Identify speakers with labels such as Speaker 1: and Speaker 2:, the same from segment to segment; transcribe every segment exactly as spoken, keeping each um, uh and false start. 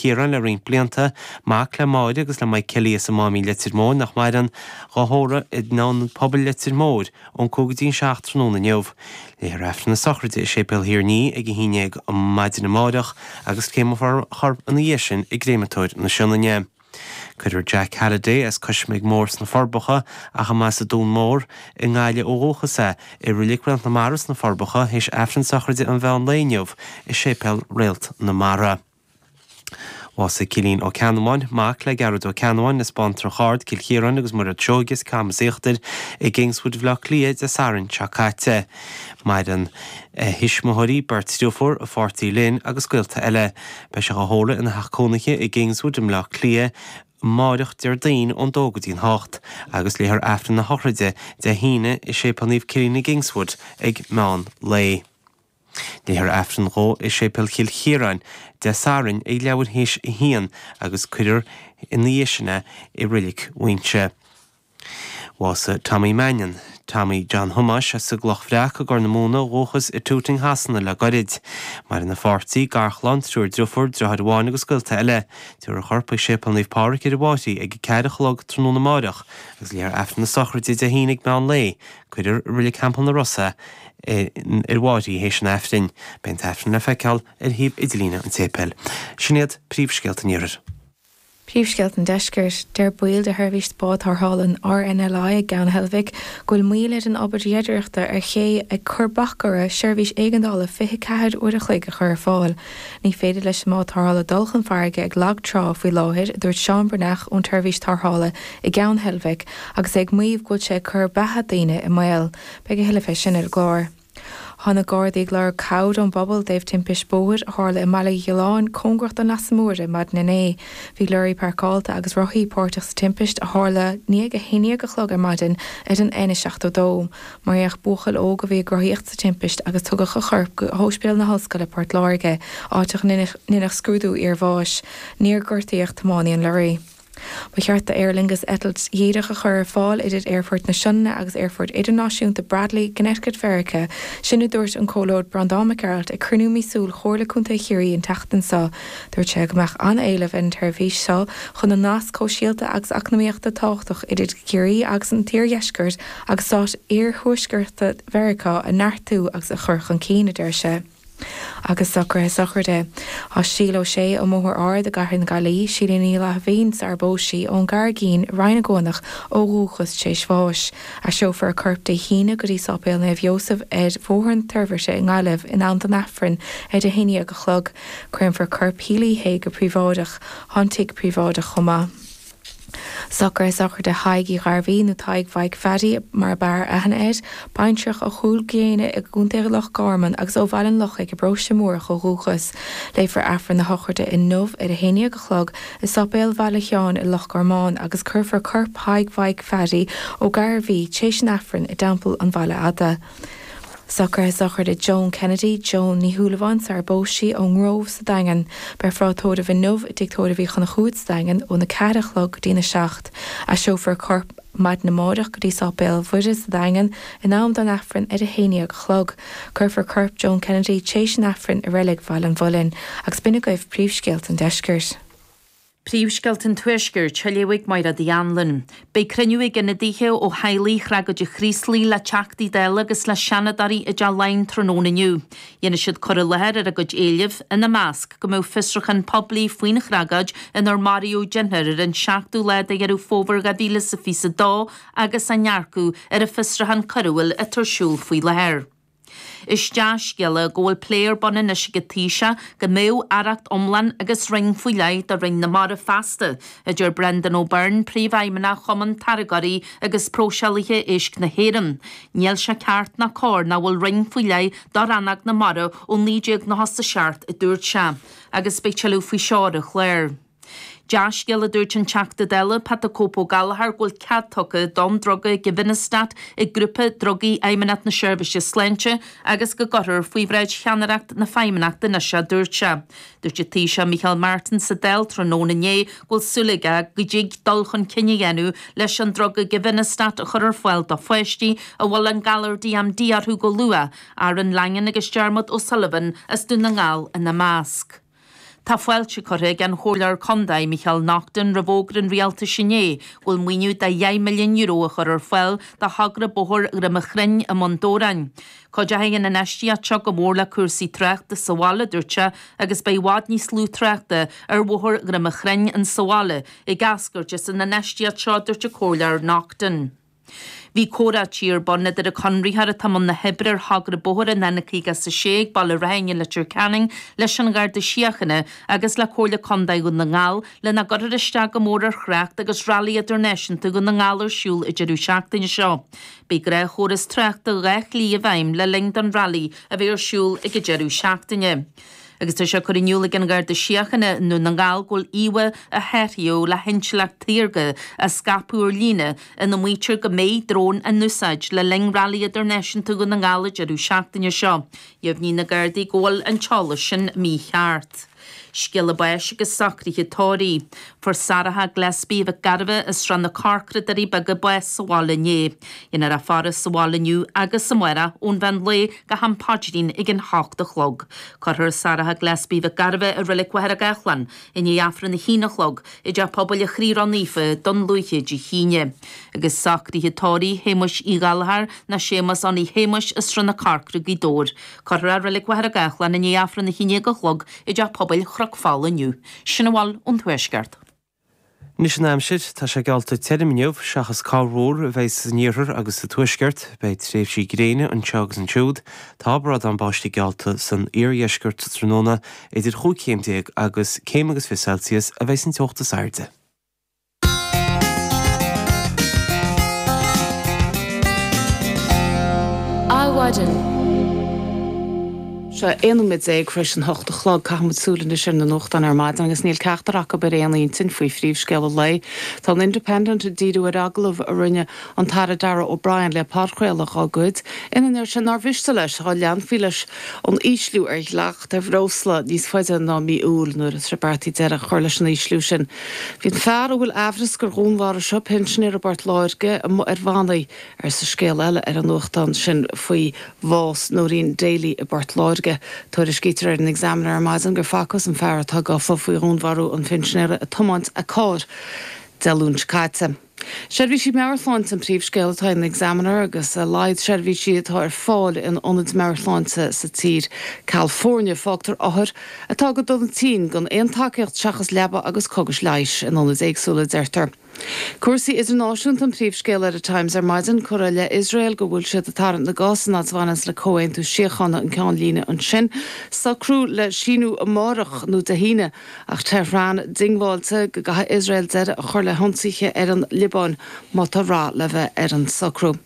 Speaker 1: Chiaráin le roinnt blianta, mac le Máire agus le Mike Kelly as an Máimín Leitir Móir nach maireann, dhá thórramh in Ionad Pobail Leitir Móir ón cúig go dtí an seacht tráthnóna inniu. Léifear Aifreann na sochraide i Séipéal Thír an Fhia ag a haon déag maidin amárach agus créamfar a chorp ina dhiaidh sin i gCréamatóir na Sionainne. Cuirfear Jack Halliday as Cois Mhic Mór sna Forbacha ach a mba as an Dún Mór i nGaillimh ó dhúchas é, i Reilig Réalt na Mara sna Forbacha théis Aifreann sochraide an mheán lae inniu i Séipéal Réalt na Mara. Bhásaigh Cillian Ó Ceannabháin, mac le Gearóid Ó Ceannabháin as Baintreach Ard, Cill Chiaráin agus Mairéad Seoige as Camas Íochtair i gKingswood Bhaile Átha Cliath Dé Sathairn seo caite. Maireann a thuismitheoirí, beirt deirfiúr, a pháirtí Lynn agus gaolta eile. Beidh sé á thórramh ina theach cónaithe i gKingswood i mBleá Cliath amárach Déardaoin ón dó go dtí an hocht agus léifear Aifreann na sochraide Dé hAoine i Séipéal Naomh Cillian i gKingswood ag meán lae. Léifear Aifreann dhó i Séipéal Chill Chiaráin Dé Sathairn ag leathuair théis a haon agus cuirfear ina dhiaidh sin é i Reilig Mhuighinse. Bhásaigh Tommy Mannion, Tommy John Thomáis as an gCloch Bhreac i gCorr na Móna ó dhúchas i Tooting Shasana le goirid. Maireann a pháirtí, garchlann, triúr driofúr, driotháir amháin agus gaolta eile. Tabharfar a chorp chuig Séipéal Naomh Pádraig ar an bhFairche ag a ceathair a chlog tráthnóna amáireach agus léifear Aifreann na sochraide Dé hAoine ag meán lae. Cuirfear i Reilig Theampall na Ros é ar an bhFairche théis an Aifrinn. Beidh an tAifreann le feiceáil ar shuíomh idirlíne an tséipéil. Sin iad príomhscéalta an Iarthair.
Speaker 2: Príomhscéalta an Deiscirt. Deir baill de sheirbhís bád tarrthála an RNLI ag Gleann Heilbhic go bhfuil moill ar an obair dhreidireachta ar ché ag cur bac orthu seirbhís éigeandála fiche ceathair uair a chloig a chur ar fáil. Ní féidir leis an mbád tarrthála dul chun farraige ag lag trá faoi láthair, a dúirt Seán Breathnach ón tseirbhís tarrthála i gCeann Heilbhic agus é ag maíomh go bhfuil sé ag cur beatha daoine i mbaol. Beidh a thuilleadh fé sin ar an gclár. Tá na Gardaí ag lorg cabhair ón bpobal i dtaobh timpist bóthair a tharla i mBaile Ghiolláin cóngarach don Leasa Mór ar maidin inné. Bhí lorraí páirceáilte agus rothaí páirteach sa timpist a tharla i ndiaidh a haon déag a chlog ar maidin ar an N seachtó dó. Maraíodh buachaill óg a bhí ag rothaíocht sa timpist agus tugadh a chorp go hOspidéal na hOllscoile Port Láirge, áit a ndeineadh scrúdú iarbháis. Níor gortaíodh tiománaí an lorraí. Ba cheart do Aer Lingus eitilt dhíreach a chur ar fáil idir Aerfort na Sionainne agus Aerfort Idirnáisiúnta Bradley i gConnecticut Mheiriceá, sin a dúirt an Comhairleoir Breandán Mac Gearailt ag cruinniú míosúil Chomhairle Contae Chiarraí an tseachtain seo. Dúirt sé go mbeadh an-éileamh ar an tseirbhís seo chun an nasc shóisialta agus eacnamaíochta tábhachtach idir Ciarraí agus an t-iardheisceart agus stáit iarthuaiscearta Mheiriceá a neartú agus a chur chun cinn, a deir sé. Agus socruithe sochraide. Tá Síle Ó Sé ón mBóthar Ard i gCathair na Gaillimhe, Síle Ní Fhlaithbhín sar a phós sí ón gCarraigín i Rinn na gCuanach ó dhúchas tar éis bháis. Aistreofar a corp Dé hAoine go dtí Sáipéal Naomh Iósaf ar Bhóthar an Toirbhirte i nGaillimh in am don Aifreann ar a haon déag a chlog. Créamfar corp Shíle Uí Shé go príobháideach. Tá an tigh príobháideach chomh maith. Socruithe sochraide Thaidhg Uí Ghairbhí nó Tadhg Mhaidhc Phaddy mar ab fhearr aithne air, baintreach ó Chúil Gréine i gContae Loch Garman agus ó Bhaile an Lochaigh i bparóiste Múrach ó dhúchas. Léifear Aifreann na sochraide inniu ar a haon déag a chlog i Sáipéal Bhaile Sheáin i Loch Garman agus cuirfear corp Thaidhg Mhaidhc Phaddy Ó Gairbhí tar éis an Aifrinn i dTeampall an Bhaile Fhada. Socruithe sochraide Joan Kennedy, Joan Ní Shúilleabháin sar a phós sí ón nGrove sa Daingean. Beifear á tórramh inniu i dTigh Tórraimh Uí Chonchúir sa Daingean óna ceathair a chlog go dtína seacht. Aistreofar a corp maidin amárach go dtí Sáipéal Mhuire sa Daingean in am don Aifreann ar a haon déag a chlog. Cuirfear corp Joan Kennedy tar éis an Aifrinn i reilig Bhaile an Mhuilinn, agus b'in agaibh príomhscéalta an deiscirt.
Speaker 3: Príomhscéalta an Tuaiscirt, á léamh ag Máire Uí Anluain. Beidh cruinniú ag ionadaithe ó theaghlaigh thragóide Chraoslaigh le Teachtaí Dála agus le Seanadóirí i dTeach Laighean tráthnóna inniu. Dhéanfaidh siad cur i láthair ar a gcuid éileamh, ina measc go mbeadh fiosrúchán poiblí faoin thragóid inar maraíodh deichniúr ar an seachtú lá de Dheireadh Fómhair dhá mhíle is a fiche a dó agus a ndearcadh ar an bhfiosrúchán coiriúil atá ar siúl faoi láthair. Is dea-scéala go bhfuil plé ar bun anois ag an Taoiseach go mbeadh aireacht iomlán agus roinn faoi leith do Roinn na Mara feasta, a deir Brendan O'Byrne, Príomhfheidhmeannach Chumann Táirgeoirí agus Próiseálaithe Éisc na hÉireann. Níl sé ceart ná cóir nach bhfuil roinn faoi leith do rannóg na mara ó naoi déag nócha a seacht, a dúirt sé. Agus beidh tuilleadh faoi seo ar an chlár. Dea-scéal a dúirt an Teachta Dála Pat the Cope Ó Gallchóir go bhfuil cead tugtha don druga Givinostat ag grúpa drugaí Fheidhmeannacht na Seirbhíse Sláinte agus go gcuirfear faoi bhráid cheannaireacht na Feidhmeannachta anois é a dúirt sé. Dúirt an Taoiseach Micheál Martin sa Dáil tráthnóna inné go bhfuil súil aige go dtig dul chun cinn a dhéanamh leis an druga Givinostat a chur ar fáil do pháistí a bhfuil an galar DMD orthu go luath, Aaron Langan agus Dermot O'Sullivan as Dún na nGall ina measc. Tá fáilte curtha ag an Chomhairleoir Contae Micheál Naughton roimh fhógra an rialtais inné go bhfuil maoiniú de dheich milliún euro a chur ar fáil do thogra bóthar Dhroim Chruinn i mBun Dobhráin. Cuideoidh an infheistíocht seo go mór le cúrsaí tráchta sa bhaile, dúirt sé, agus beidh i bhfad níos lú tráchta ar bhóthar Dhroim Chruinn in sa bhaile ag eascairt as an infheistíocht seo, dúirt an Comhairleoir Naughton. Bhí comhráití ar bun idir an conraitheoir atá i mbun na hoibre ar thogra bóthair an N caoga is a sé ag Baile Raithin i Leitir Ceanainn leis an Gharda Síochána agus le Comhairle Contae Dhún na nGall le nach gcuirfear isteach go mór ar thrácht agus Railí Idirnáisiúnta Dhún na nGall ar siúl an deireadh seachtaine seo. Beidh gnáthchóras tráchta dhá shlí i bhfeidhm le linn don railí a bheidh ar siúl ag an deireadh seachtaine. Agus tá sé curtha in iúl ag an Gharda Síochána i nDún na nGall go bhfuil íomhá a saothraíodh le hintleacht shaorga á scaipeadh ar líne ina maítear go mbeidh drón in úsáid le linn Railí Idirnáisiúnta Dhún na nGall an deireadh seachtaine seo. Dheimhnigh na Gardaí go bhfuil an t-eolas sin mícheart. Scéala báis agus socruithe tórraimh. Fuair Sarah Gillespie Mhic Gairbheith as Srath na Corcra, Doirí Beaga bás sa bhaile inné. Dhéanfar í a fhaire sa bhaile inniu agus amárach ón mheán lae go ham paidrín ag an hocht a chlog. Cuirfear Sarah Gillespie Mhic Gairbheith i Reilig Mhachaire Gathlán i ndiaidh Aifreann a haon a chlog i dTeach Pobail an Chroí Ró-Naofa Dún Lúiche Dé hAoine. Agus socruithe tórraimh Shéamuis Uí Ghallchóir ná Séamus Annaí Shéamuis as Srath na Corcra, Gaoth Dobhair. Cuirfear i Reilig Mhachaire Gathlán i ndiaidh Aifreann a haon déag a chlog i dTeach Pobail Chnoc Fola inniu. Sin a bhfuil ón Tuaisceart.
Speaker 1: Anois an aimsir, tá sé geallta tirim inniu, seachas corrmhúr a bheidh san iarthar agus sa tuaisceart, beidh tréimhsí gréine anseo agus ansiúd. Tá brádán báistí geallta san iardheisceart sa tráthnóna idir chúig chéim déag agus céim agus fiche Celsius a bheidh san teocht is airde.
Speaker 2: Adhmhaidin.
Speaker 4: Sé aon nóiméad déag tar éis an hocht a chlog. Caithfimid súil anois ar na nuachtáin ar maidin agus níl ceachtar acu ar aon intinn faoi phríomhscéal an lae. Tá an Independent ag díriú ar agallamh a rinne an tAire Darragh O'Brien le podchraoladh dá gcuid, ina ndeir sé nár mhiste leis dá leanfaí leis an ísliú ar dhleacht ar bhreosla níos faide ná mí Iúil nuair atá sé beartaithe deireadh a chur leis an ísliú sin. Bhí an fear a bhfuil aimhreas gur dhúnmharaigh sé pinsinéir i bPort Láirge amuigh ar bhannaí, arsa scéal eile ar an nuachtán sin faoi bhás Noreen Daly i bPort Láirge. Tuairiscítear ar an Examiner ar maidin gur facthas an fear atá gafa faoi dhúnmharú an phinsinéara ag tiomáint a cairr Dé Luain seo caite. Seirbhísí meabhairshláinte an príomhscéal atá in Examiner agus a laghad seirbhísí atá ar fáil in ionaid meabhairshláinte sa tír. Ceal foirne fágtar othair atá go dona tinn gan aon tacaíocht seachas leaba agus cógais leighis in ionaid éagsúla, deirtear. Cúrsaí idirnáisiúnta an príomhscéal ar an Times ar maidin, curtha i leith Iosrael go bhfuil siad ag tarraingt na gcos an fhad is a bhaineanns le comhaontú síochána an ceannlíne ansin. Socrú le síniú amárach nó Dé hAoine ach Tehran diongbháilte go gcaithfidh Iosrael deireadh a chur le hionsaithe ar an Liobáin má tá rath le bheith ar an socrú.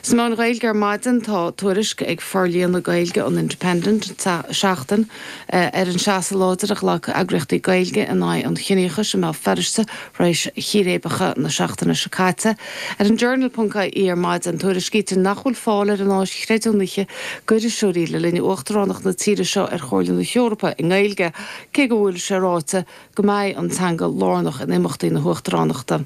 Speaker 4: Sna meáin Ghaeilge ar maidin tá tuairisc ag Forlíonadh Gaeilge an Independent Seachtain ar an seasamh láidir a ghlac eagraíochtaí Gaeilge in aghaidh an chiníochais i mBéal Feirste tar éis chíréibeacha na seachtaine seo caite. Ar an Journal ponc ie ar maidin tuairiscítear nach bhfuil fáil ar an áis chreidiúnaithe d'iriseoirí le linn uachtaránacht na tíre seo ar Chomhairle na hEorpa i nGaeilge, cé go bhfuil sé ráite go mbeidh an teanga lárnach in imeachtaí na huachtaránachta.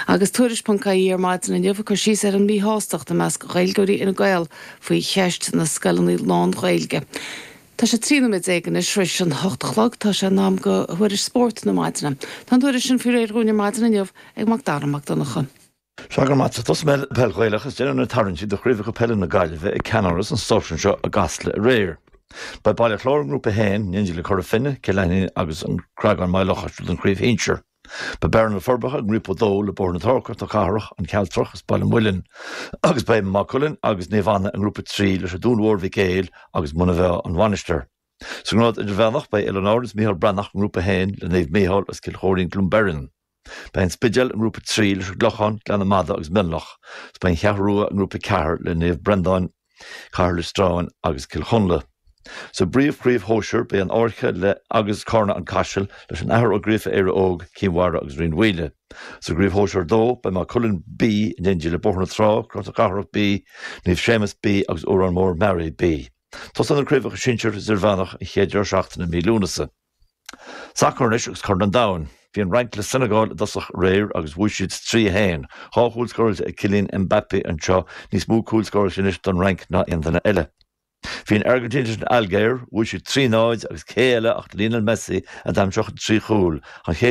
Speaker 4: Agus Tuairisc ponc ie ar maidin inniu ag cur síos ar an míshástacht i measc Ghaeilgeoirí Fhine Gael faoi cheist na scoileanna lán-Ghaeilge. Tá sé trí nóiméad déag anois tar éis an hocht a chlog. Tá sé in am do thuairisc spóirt na maidine. Tá an tuairisc sin faoi réir dhúinn ar maidin inniu ag Mac Dara Mac Donncha.
Speaker 5: Sea, go raibh maith agat. Tosóidh mé le peil Ghaelach is déanfar na tarraingtí do chraobhacha peile na Gaillimhe ag ceannáras an stáisiúin seo i gCasla aréir. Beidh Baile Chláir i nGrúpa a haon, in éindí le Cora Finne, Cill Aithnín agus An Creagán Maigh Locha don chraobh shinsir. Beidh Bearna-Na Forbacha i nGrúpa a dó le Bóthar na Trá, Cnoc na Cathrach, An Cealtrach is Baile Muilinn agus beidh Maigh Cuilinn agus Naomh Anna i nGrúpa a trí leis an Dún Mhór Mhic Éil agus Muine Mheá An Mhainistir. Sa ngrád idirmheánach beidh Oileáin Árann is Micheál Breathnach i nGrúpa a haon le Naomh Mícheál agus Cill Chóirín Cluain Beirn. Beidh An Spidéal i nGrúpa a trí leis an gClochán, Gleann na Madadh agus Mionlach agus beidh An Cheathrú Rua i nGrúpa a ceathair le Naomh Breandáin, Cathair Loistreáin agus Cill Chonla. Sa bpríomhchraobh shóisir beidh An Fhairche le agus Carna An Caiseal leis an Athair Ó Gríofa Éire Óg, Cinn Mhara agus Rinn Mhaoile. Sa gcraobh shóisir dó beidh Maigh Cuilinn B in éindí le Bóthar na Trá, Cnoc na Cathrach B, Naomh Séamus B agus Órán Mór Mearaí B. Tosaíonn na craobhacha sinsir is idirmheánach an chéad deireadh seachtaine i mí Lúnasa. Sacar anois agus Corn an Domhain. Bhí an Fhrainc le Senegal i dtosach aréir agus bhuaigh siad trí a haon. Dhá chúl scóráilte ag Kylian Mbappé anseo, níos mó cúil scóráilte anois don Fhrainc ná aon duine eile. Bhí an Airgintín leis an Ailgéir, bhuaigh siad trí náid agus cé eile ach Lionel Messi a d'aimsigh trí chúl, an chéad